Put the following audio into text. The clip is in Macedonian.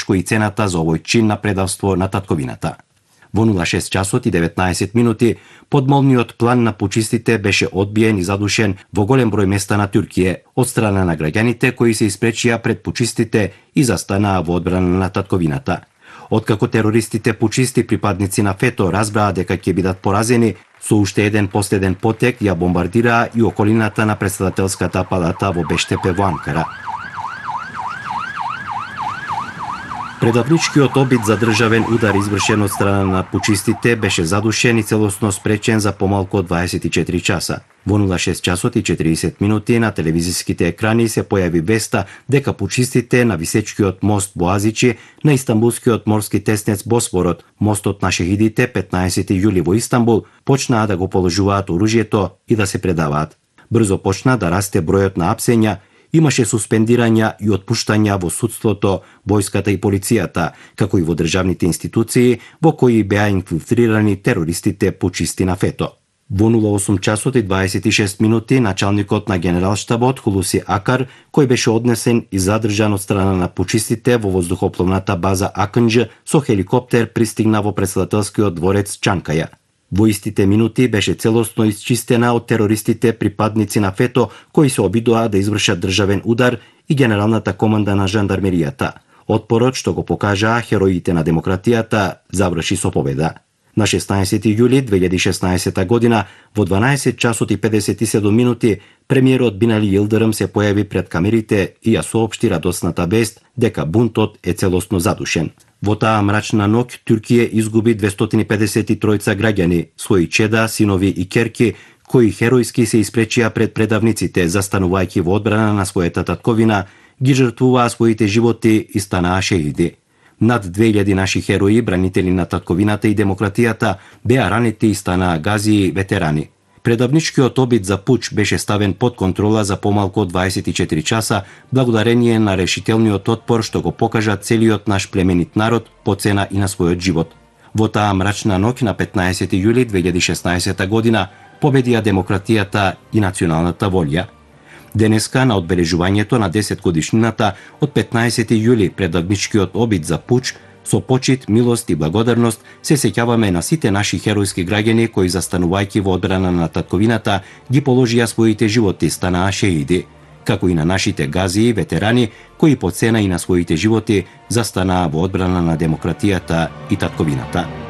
тешко и цената за овој чин на предавство на татковината. Во 06 часот и 19 минути подмолниот план на пучистите беше одбиен и задушен во голем број места на Туркија од страна на граѓаните кои се испречија пред пучистите и застанаа во одбрана на татковината. Откако терористите пучисти припадници на ФЕТО разбраа дека ќе бидат поразени, со уште еден последен потек ја бомбардираа и околината на претседателската палата во Бештепе во Анкара. Предавничкиот обид за државен удар извршен од страна на пучистите беше задушен и целосно спречен за помалку од 24 часа. Во 06 часот и 40 минути на телевизиските екрани се појави веста дека пучистите на висечкиот мост Боазичи на Истанбулскиот морски теснец Босфорот, мостот на шехидите 15 јули во Истанбул, почнаа да го положуваат оружјето и да се предаваат. Брзо почна да расте бројот на апсења, имаше суспендирања и отпуштања во судството, војската и полицијата, како и во државните институции во кои беа инфилтрирани терористите пучисти на ФЕТО. Во 08 часот и 26 минути началникот на генералштабот Хулуси Акар, кој беше однесен и задржан од страна на пучистите во воздухопловната база Акнџ, со хеликоптер пристигна во претседателскиот дворец Чанкаја. Во истите минути беше целосно исчистена од терористите припадници на ФЕТО кои се обидоа да извршат државен удар и генералната команда на жандармеријата. Отпорот што го покажаа хероите на демократијата заврши со победа. На 16 јули 2016 година во 12 часот и 57 минути премиерот Бинали Йилдирим се појави пред камерите и ја соопшти радосната вест дека бунтот е целосно задушен. Во таа мрачна ноќ Туркија изгуби 253 граѓани, своји чеда, синови и ќерки, кои херојски се испречија пред предавниците, застанувајќи во одбрана на својата татковина, ги жртвуваа своите животи и станаа шеиди. Над 2000 наши херои, бранители на татковината и демократијата, беа ранети и станаа гази и ветерани. Предавничкиот обид за пуч беше ставен под контрола за помалку од 24 часа, благодарение на решителниот отпор што го покажа целиот наш племенит народ по цена и на својот живот. Во таа мрачна ноќ на 15 јули 2016 година победија демократијата и националната волја. Денеска, на одбележувањето на 10 годишнината од 15 јули предавничкиот обид за пуч, со почит, милост и благодарност се сеќаваме на сите наши херојски граѓани кои застанувајќи во одбрана на татковината ги положија своите животи, станаа шеиди, како и на нашите гази и ветерани кои по цена и на своите животи застанаа во одбрана на демократијата и татковината.